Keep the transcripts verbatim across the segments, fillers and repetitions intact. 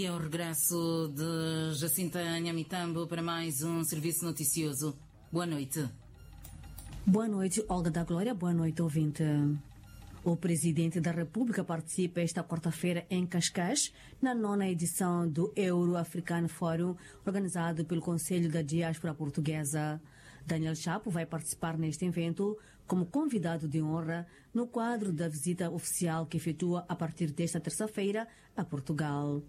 E ao regresso de Jacinta Nhamitambo para mais um serviço noticioso. Boa noite. Boa noite, Olga da Glória. Boa noite, ouvinte. O Presidente da República participa esta quarta-feira em Cascais, na nona edição do Euro-African Forum, organizado pelo Conselho da Diáspora Portuguesa. Daniel Chapo vai participar neste evento como convidado de honra no quadro da visita oficial que efetua a partir desta terça-feira a Portugal.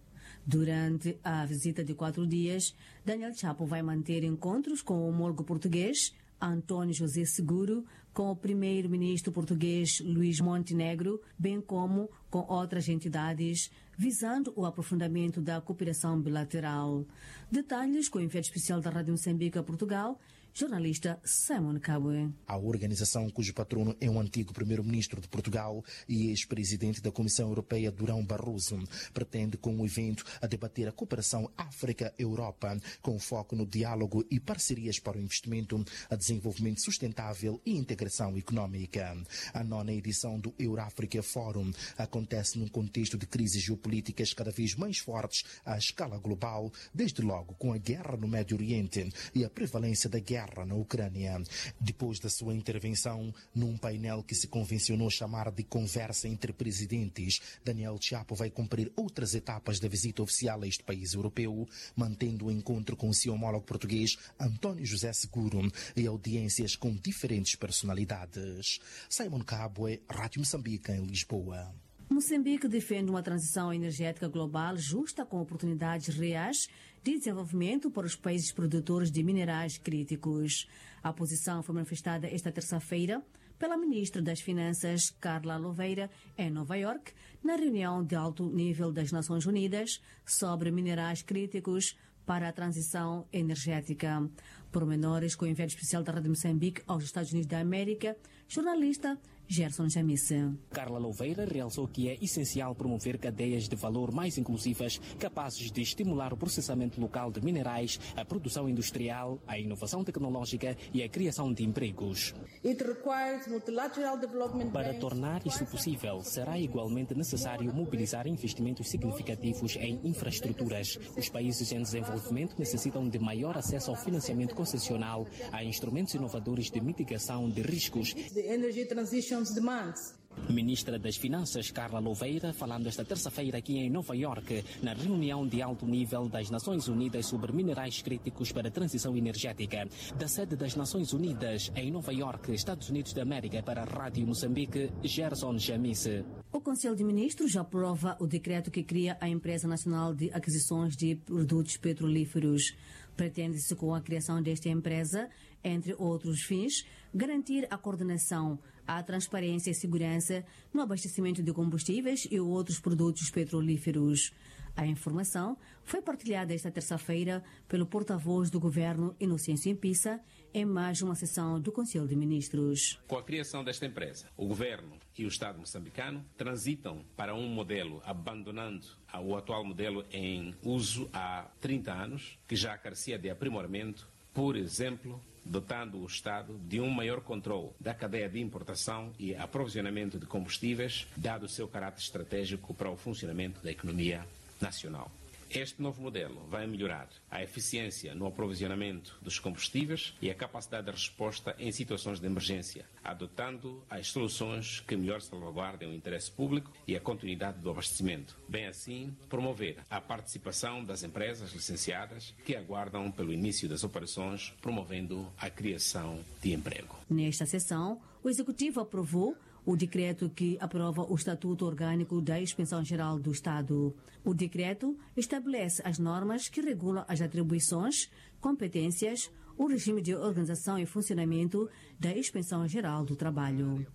Durante a visita de quatro dias, Daniel Chapo vai manter encontros com o homólogo português, António José Seguro, com o primeiro-ministro português, Luís Montenegro, bem como com outras entidades, visando o aprofundamento da cooperação bilateral. Detalhes com o enviado especial da Rádio Moçambique a Portugal, jornalista Simon Kabwe. A organização, cujo patrono é o antigo primeiro-ministro de Portugal e ex-presidente da Comissão Europeia, Durão Barroso, pretende, com o evento, a debater a cooperação África-Europa, com foco no diálogo e parcerias para o investimento, a desenvolvimento sustentável e integração económica. A nona edição do Euroafrica Forum acontece num contexto de crises geopolíticas cada vez mais fortes à escala global, desde logo com a guerra no Médio Oriente e a prevalência da guerra na Ucrânia. Depois da sua intervenção num painel que se convencionou chamar de Conversa entre Presidentes, Daniel Chapo vai cumprir outras etapas da visita oficial a este país europeu, mantendo o encontro com seu homólogo português, António José Seguro, e audiências com diferentes personalidades. Simon Kabwe, Rádio Moçambique, em Lisboa. Moçambique defende uma transição energética global justa, com oportunidades reais de desenvolvimento para os países produtores de minerais críticos. A posição foi manifestada esta terça-feira pela ministra das Finanças, Carla Louveira, em Nova Iorque, na reunião de alto nível das Nações Unidas sobre minerais críticos para a transição energética. Pormenores com o enviado especial da Rádio Moçambique aos Estados Unidos da América, jornalista Gerson Jamise. Carla Louveira realçou que é essencial promover cadeias de valor mais inclusivas, capazes de estimular o processamento local de minerais, a produção industrial, a inovação tecnológica e a criação de empregos. It requires multilateral development banks. Para tornar isso possível, será igualmente necessário mobilizar investimentos significativos em infraestruturas. Os países em desenvolvimento necessitam de maior acesso ao financiamento concessional, a instrumentos inovadores de mitigação de riscos. The energy transition's demands. Ministra das Finanças, Carla Louveira, falando esta terça-feira aqui em Nova Iorque, na reunião de alto nível das Nações Unidas sobre minerais críticos para a transição energética. Da sede das Nações Unidas, em Nova Iorque, Estados Unidos da América, para a Rádio Moçambique, Gerson Jamise. O Conselho de Ministros aprova o decreto que cria a Empresa Nacional de Aquisições de Produtos Petrolíferos. Pretende-se, com a criação desta empresa, entre outros fins, garantir a coordenação, a transparência e segurança no abastecimento de combustíveis e outros produtos petrolíferos. A informação foi partilhada esta terça-feira pelo porta-voz do governo, Inocêncio Empissa, em mais uma sessão do Conselho de Ministros. Com a criação desta empresa, o governo e o Estado moçambicano transitam para um modelo, abandonando a, o atual modelo em uso há trinta anos, que já carecia de aprimoramento, por exemplo, dotando o Estado de um maior controle da cadeia de importação e aprovisionamento de combustíveis, dado o seu caráter estratégico para o funcionamento da economia nacional. Este novo modelo vai melhorar a eficiência no aprovisionamento dos combustíveis e a capacidade de resposta em situações de emergência, adotando as soluções que melhor salvaguardem o interesse público e a continuidade do abastecimento. Bem assim, promover a participação das empresas licenciadas que aguardam pelo início das operações, promovendo a criação de emprego. Nesta sessão, o Executivo aprovou o decreto que aprova o Estatuto Orgânico da Inspeção Geral do Estado. O decreto estabelece as normas que regulam as atribuições, competências, o regime de organização e funcionamento da Inspeção Geral do Trabalho.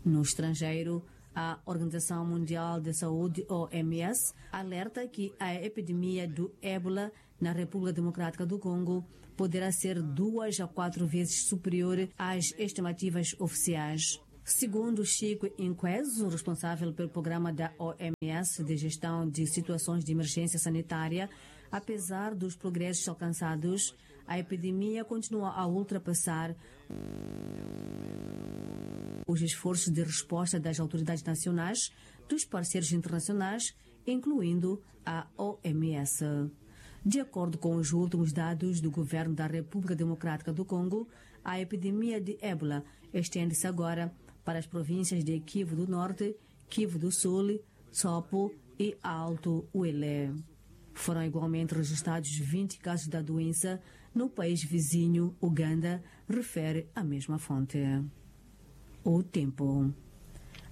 No estrangeiro, a Organização Mundial de Saúde, O M S, alerta que a epidemia do ébola na República Democrática do Congo poderá ser duas a quatro vezes superior às estimativas oficiais. Segundo Chico Inquezo, responsável pelo programa da O M S de gestão de situações de emergência sanitária, apesar dos progressos alcançados, a epidemia continua a ultrapassar os esforços de resposta das autoridades nacionais, dos parceiros internacionais incluindo a oms. De acordo com os últimos dados do governo da república democrática do congo, a epidemia de ébola estende-se agora para as províncias de kivu do norte, kivu do sul, sopo e alto uele. Foram igualmente registrados vinte casos da doença no país vizinho uganda, refere a mesma fonte. O tempo.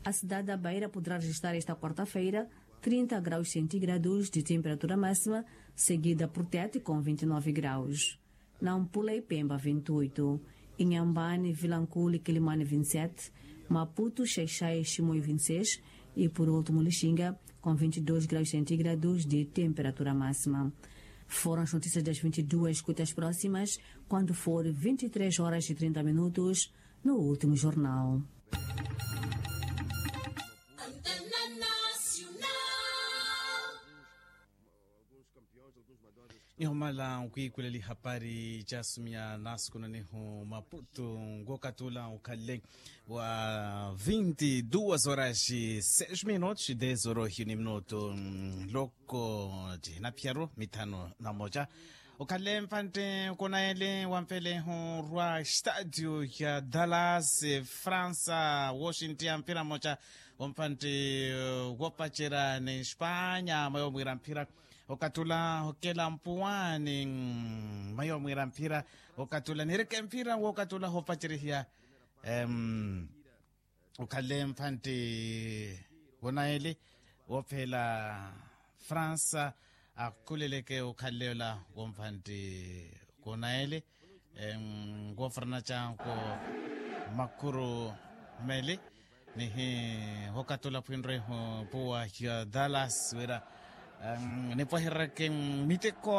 A cidade da beira poderá registrar esta quarta-feira trinta graus centígrados de temperatura máxima, seguida por tete com vinte e nove graus. Nampula e pemba vinte e oito, inhambane vilanculi kilimane vinte e sete, maputo xaixai ximoi vinte e seis, e por último lixinga com vinte e dois graus centígrados de temperatura máxima. Foram as notícias das vinte e duas, escutas próximas quando for vinte e três horas e trinta minutos no último jornal. Nihumala nkwiikuleli hapari caasumya naasukunanihu maputu. Nkokatula ukhalle wa vinti duas horas seis minutos dez horas ni minuto loko cinapyaru mithano na moca. Ukhalle mpantte kunayele wa mpelehu rwa stadio ya dallas, fransa woshinti ya mpira moca. Wompantti wopacerya ni espanya mayo mwiira mphira. Okatula okela mpuwani mayo mwiira mphira. Okatula nireke mphira wokatula hopaceryihiya. Okhalle mpantti wonaeli wophela fransa akhuleleke okhalle ola wompantti wonaeli. Nkoofurana canko makuru meli nihi hokatula phwinre puwa ya dallas wira nipwaherereke miteko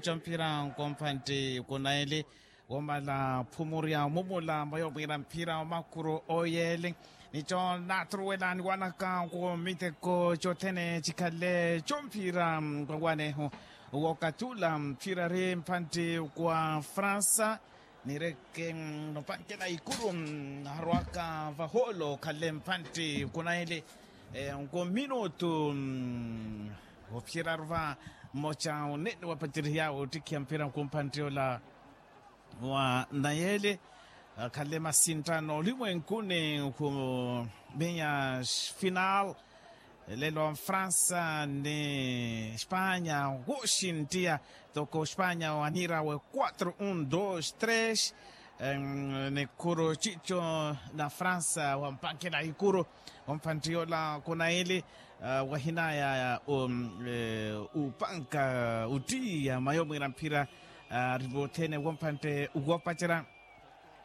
ca mphira nkompantti kunaili womala phumurya mumula mwayo mwira mphira omakuru oyeli. Nico naturuwela niwanaka ku miteko cothene cikhale comphira nkwawanehu wokatula mphira ri mphantti kwa fransa nireke nopankela ikuru narwaka vaholo khale mphantti kunaili nko minutu ophiyeraru va mmoca onene wapacerihya ottikhiya mphira nko mphantti ola wa nayeli. Khale masinttano olimwenkuni khu meya final lelo fransa ni espanya woxinttiya toko espanya wanirawe quatro un dos tres. Nikhuru cico na fransa wampankela ikuru omphantti yola kunaili wahinaya upanka uttiya mayo mwira mphira ari vothene womphantte wopacerya.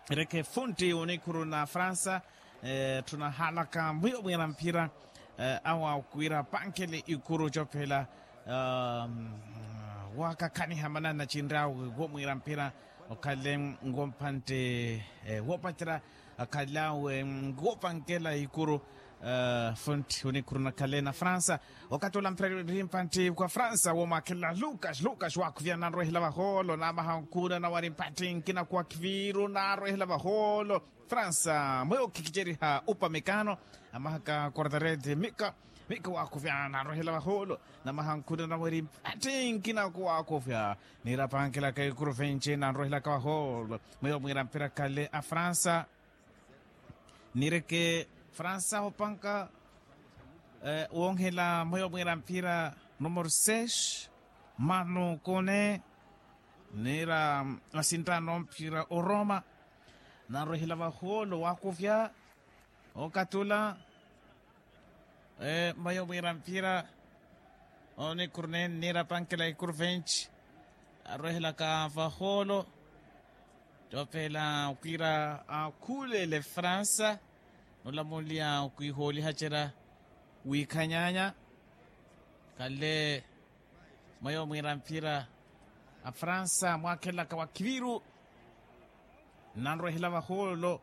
Reke funtti onikhuru na fransa tthuna halaka mwiyo mwira mphira awa okhwira pankele ikuru cophela wakakhaniha manana cinrawe womwira mphira okhale ngompantte wopacerya akhalawe ngopankela ikuru. Fontti onikhuru nakhale na fransa okatula mphira ri mpantti kwa fransa womwakhelela lucas lucas wakhuvya nanrwehela vaholo namaha nkhuna nawari mpantti nkina kwa khiviru nanrwehela vaholo. Fransa mwe okhikiceriha upamekano amahaka quartarete mika mika wakhuvya nanrwehela vaholo namaha nkhuna nawari mpantti nkina kwa wakhuvya. Nirapankela kaikuruvenci nanrwehelaka vaholo mweyo mwira mphira khale a fransa. Nireke fransa opanka wonhela mweyo mwira mphira numero seis manu kone nira masinttano mphira oroma. Nanrwehela vaholo wakuvya okatula mmayo mwira mphira onikhuru nene nirapankela ikuru venci arwehelaka vaholo. Coopela okhwira akhulele fransa nolamuliya okhwiha olihacerya wikhanyanya khale mmayo mwira mphira a fransa mwakhelaka wa khiviru nanrwehela vaholo.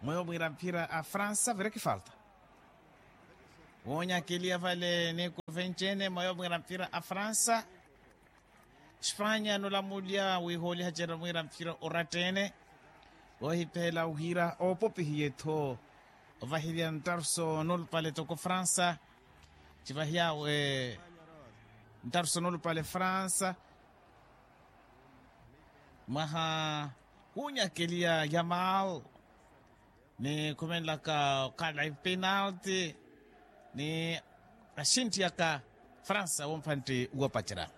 Mweyo mwira mphira a fransa vireke falta woonyakeliya vale ni kuvenci ene mweyo mwira mphira a fransa. Espanya nolamulya wihooliha cera mwira mphira oratta ene wohipela wira oopopihiye-tho ovahilya ntarso nolupale toko fransa. Civahiyawe Ntaru sonulupale fransa mwaha kunyakeliya yamal ni khumenlaka okhala ipinalti ni axinttiyaka fransa wompantti wopacerya.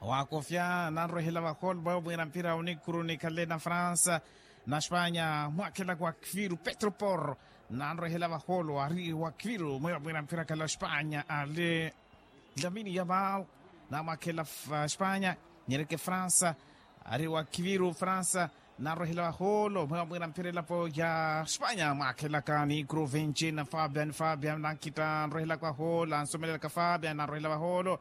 Waakofya nanrwehela vaholo mweyo mwiira mpira onikhuru nikhalle na fransa na spanya mwakhelaka wa kviru petro por nanrwehela vaholo ari wa kviru mweyo mwiira mpira khalle wa spanya ali lamini yamal namwakhela spanya nyereke fransa ari wa kviru fransa nanrwehela vaholo mweyo mwiira mpira elapo ya spanya mwakhelaka nikhuru vinci na fabian fabian nankhitta anrwehelaka vaholo ansomelelaka fabian nanrwehela vaholo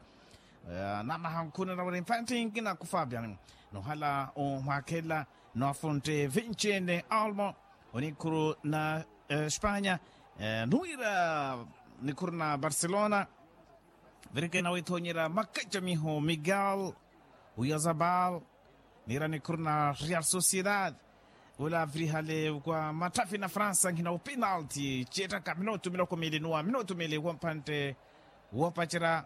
namaha nkhuna naweri mpattinki naku fabian nohala omwakhela nafuntte vinci ni almo onikhuru na spanya nuwira nikhuru na barcelona virikena withonyera makacamiho miguel uyazabal nira nikhuru na real sociedad ula avirihale kwa matthafi na fransa nkhina upinalti cettaka minutu miloko mili nuwa minutu mili wompantte wopacerya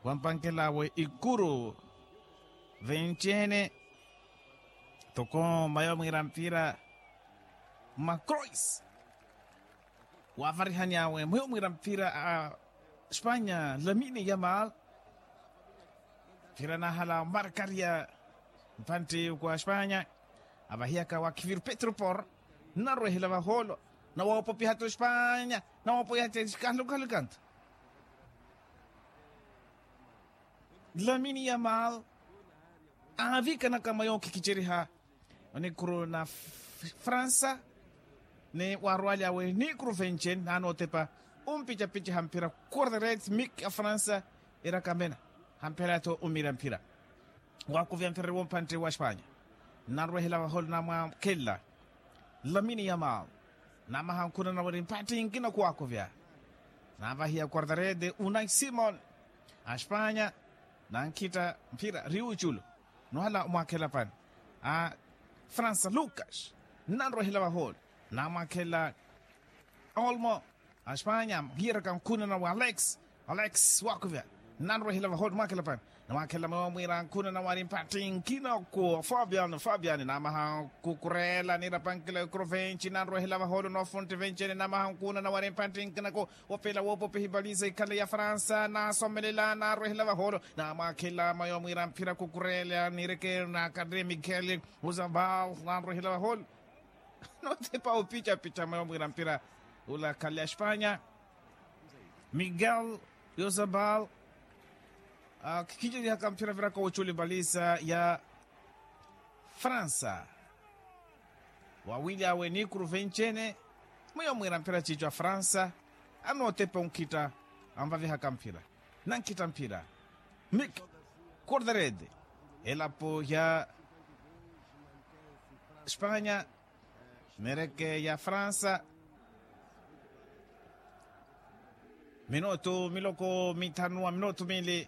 wampankel'awe ikuru vencene toko mayo mwiira mpira macrois wavarihany'awe mweyo mwiira mpira a spanya lamini yamal mpira nahala markaria mpantti kwa spanya avahiyaka wa kivir petro por narwehela vaholo nawoopopiha tu spanya nawoopopiha ti kalukalukantu lamini yamal aavikanaka mayo kikiceriha onikhuru na fransa ni warwalyawe nikhuru vencen nanotepa umpicapicaha mpira quarteret mik a fransa irakamena hampela tho umira mpira wakuvya mpira wompantte wa spanya nanrwehela vaholo namwakhella lamini yamal namaha nkhuna naweri mpattinki nakuwakuvya navahiya quartarede unai simon a spanya nankhitta mphira riuculu nohala omwakhela pani a fransa lucas nanrwehela vaholo namwakhela olmo a spanya hiyeraka nkhuna nawe alex alex wakuvya nanrwehela vaholo mwakhela pani namwakhela mwewa mwiira nkhuna nawe ari mpattinki naku fabian fabian namaha kukurela nirapankela ikrovenci nanrwehela vaholo nofuntti vencene namaha nkhuna nawe ari mpattinki naku opela woopopiha ipaliza ikhale ya fransa nasomelela narwehela vaholo namwakhela mayo mwiira mphira kukurela nireke nakarre miguel uzabal nanrwehela vaholo notepa opicapica mayo mwiira mpira ula khale ya spanya miguel uzabal khikhicerihaka mphira viraka ocula ipaliza ya fransa wawilyawe nikhuru vencene mwiyo mwiira mphira ciico a fransa anootepa onkhitta anvavihaka mphira nankhita mphira mik quartarede elapo ya spanya mereke ya fransa minutu miloko mithanu wa minutu mili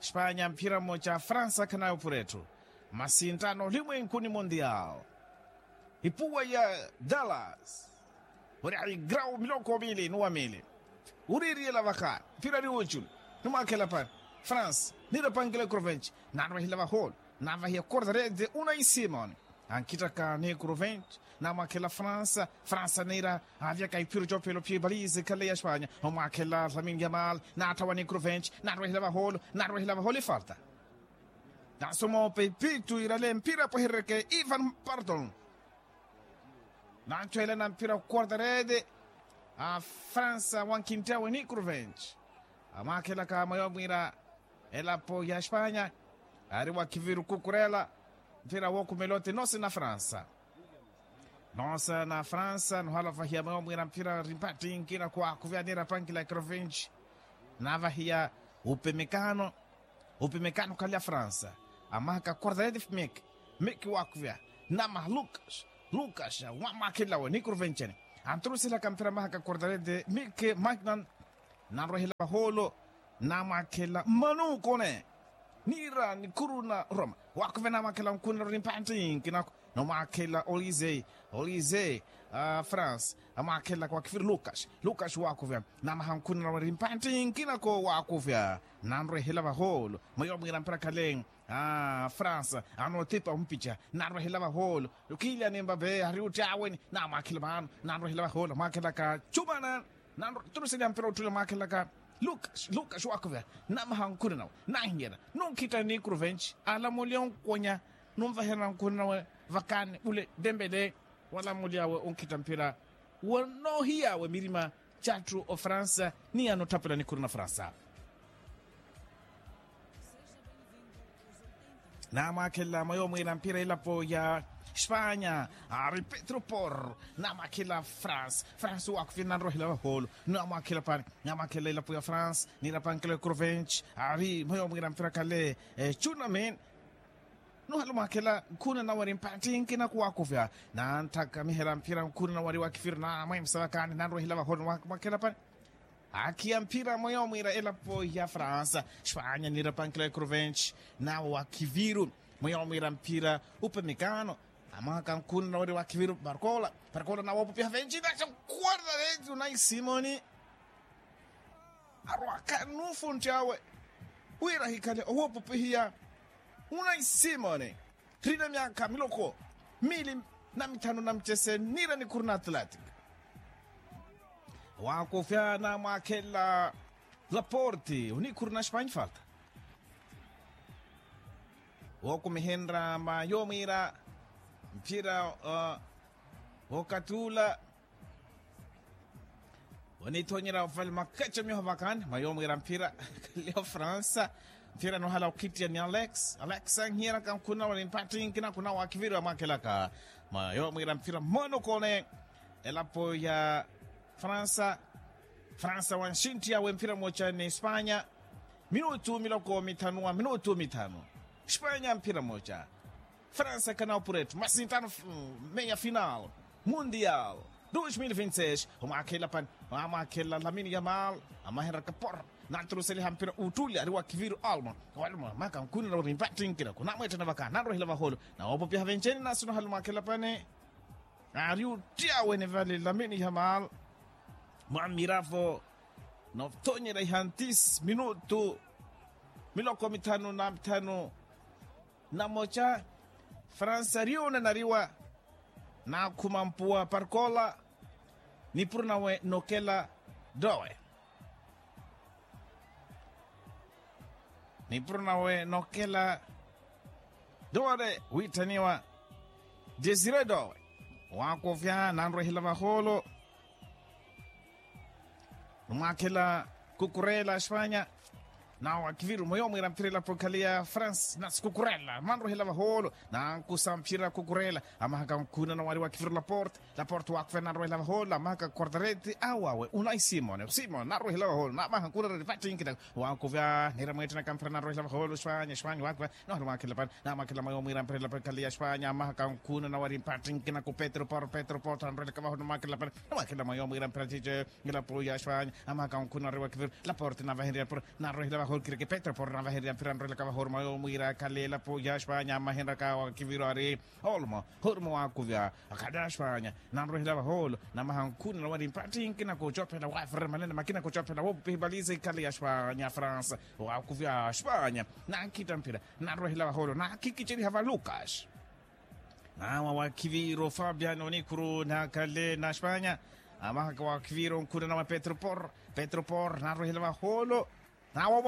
spanya mphira mmoca fransa khanayo phuretthu masinttano olimwenkuni mundial ipuwa ya dallas ori aigrau miloko mili nuwa mili uriiriyela vakha mphira ari wuculu nimwakhela pani france nirapankela ikrovenci nanrwehela vaholo navahiya quartarede unai simon ankhitaka ni ikrovenci namwakhela fransa fransa nira avyaka iphiro copelo phi balize khale ya spanya omwakhela lamine yamal nathawa ni ikrovenci narwehela vaholo narwehela vaholo ifalta nasoma ope ipitu irale mpira pweherereke ivan pardon nanthwela na mpira quartarede a fransa wankhinttawe ni ikrovenci amwakhelaka mayo mwira elapo ya spanya ari wa kiviru kukurela mphira wookhumela oti nosi na fransa nosa na fransa nohala ovahiya mwewo mwira mphira ori mpattinki na kuwakhuviyanira pankila ikrovinci navahiya upemekano upemekano khalya fransa amahaka quartarede mik mik wakhuvya namaha lukas lukas wamwakhilawe ni ikrovincene anturusilaka mphira amahaka quartarede mik magnan nanrohela vaholo namwakhela mmanuukone niira nikhuru na roma wakhuvya namwakhela nkhunela ori mpattinki nako Nomwaakhela olise, olise, france amwaakhelaka wakhiviru lukas, lukas waakuvya. Namaha nkhunana wari mpatthi nkinako waakuvya, nanrwehela vahoolo mweyo mwiira mpira khale. France anootipa ompica, nanrwehela vahoolo. Kilyani mbave ari otti aweni, namwaakhela vaano, nanrwehela vahoolo amwaakhelaka cumana. Nanrwa turuseliha mpira otthuli amwaakhelaka lukas, lukas waakuvya. Namaha nkhunanawe, nahinyela, nunkhitta nikruvenci, alamulya onkonya, nunvaherya nkhunanawe vakani ule dembele. Walamulyawe onkhitta mpira, wonoohiyawe mirima, catthu ofransa ni anotthapela nikhuru na fransa. Namwakhelela mweyo mwiira mpira elapo ya espanya, ari petro por. Namwakhelela france, france wakhufina nanrohela vahoolo. Namwakhelela pani, namwakhelela elapo ya france, nirapankelo ya crovench, ari mweyo mwiira mpira khale. Cunami, nuhala omwakhela nkhuna nawe ari mpatthi nkinaku wakhufya, nanthakamihela mphira nkhuna nawe ari wakhifiru namwemsa vakani nanrohela vahoolo. Mwakhela pani, akhiya mphira mweyo mwiira elapo ya fransa, espanya nirapankela ya crovench, nawe wakhiviru mweyo mwiira mphira upe mikano. Amahaka nkhuna nawe ari wakhiviru parkola, parkola nawe opupiha venci naxa, kuwardarenci unai simoni. Arwaka nufuntti awe wira ahikhale owopupihiya. Unai simoni, rina myaakha miloko mili na mithanu na mucese niira nikhuru na atlantic. Waakufya namwakhelela laporte onikhuru na espanya falta. Wookumihenrya mayo mwiira mphira wookathi ula onithonyerya ovale makaca miho vakani mayo mwiira mphira. Khalio fransa, mphira nohala okhittiya ni alex, alex anhiyeraka nkhuna wari mpatthi nkinaku nawe wakhiviru amwakhelaka. Mayo mwiira mphira mmono kone elapo ya fransa. Fransa wanxintti awe mphira moca ni espanya, minutu miloko mithanu wa minutu mithanu. Espanya mphira moca, fransa ekanawo puretu masintano meia final mundial dos mil vinti seis. Omwakhelela pani, amwakhelela lamini yamal, amahenraka por, naturuseliha mpira uttuli ari wakhiviru olmo. Olmo amaka nkhunela uri mpatthi nkinaku namwettena vaka nanrohela vahoolo, nawoopopiha venceni nasi nohala omwakhelela pani. Ari otti awe nivale lamini yamal, mwamiravo nothonyela ihantis minutu miloko mithanu na mithanu na moca. Fransa ari onanariwa, nakhuma mpuwa parkola, nipuro nawe nokela dowe. Nipuro nawe nokela dowe witthaniwa desire dowe. Waakufya nanrwehela vahoolo. Numwaakhela kukurela espanya, nawe wakiviru mweyo mwiira mphira elapo ekhale ya france nasi kukurela manrwehela vahoolo. Nankusa mphira kukurela amahaka nkhuna nawe ari wakiviru laporte, laporte waakufya nanrwehela vahoolo amahaka quartareti awawe unai simone simone nanrwehela vahoolo namaha nkhuna reri vattinkina. Waakufya nira mweettenaka mphira nanrwehela vahoolo espanya espanya waakufya. Nohala omwakhelela pani, namwakhelela mweyo mwiira mphira elapo ekhale ya espanya amahaka nkhuna nawe ari mpattinkina ku petro por petro por tanrwelaka vahoolo namwakhelela pani. Namwakhelela mweyo mwiira mphira cice elapo ya espanya amahaka nkhuna ari wakiviru laporte navahenrya pura, narwehela vahoolo kireke petro por navahenrya mphira narwelaka vahoolo mweyo mwiira akhale elapo ya espanya amahenraka wakiviru ari olmo hormo waakuvya. Akhale a espanya nanrwehela vahoolo namaha nkhuna nawe ari mpattinkina kucophela waferera manene makina kucophela woopupihi valize ikhale ya espanya france. Waakuvya espanya nankhitta mphira, narwehela vahoolo nakhikiceriha va lucas. Nawa wakhiviru fabian onikhuru nakhale na espanya, amahaka wakhiviru nkhuna nawe petro por, petro por narwehela vahoolo. Nawa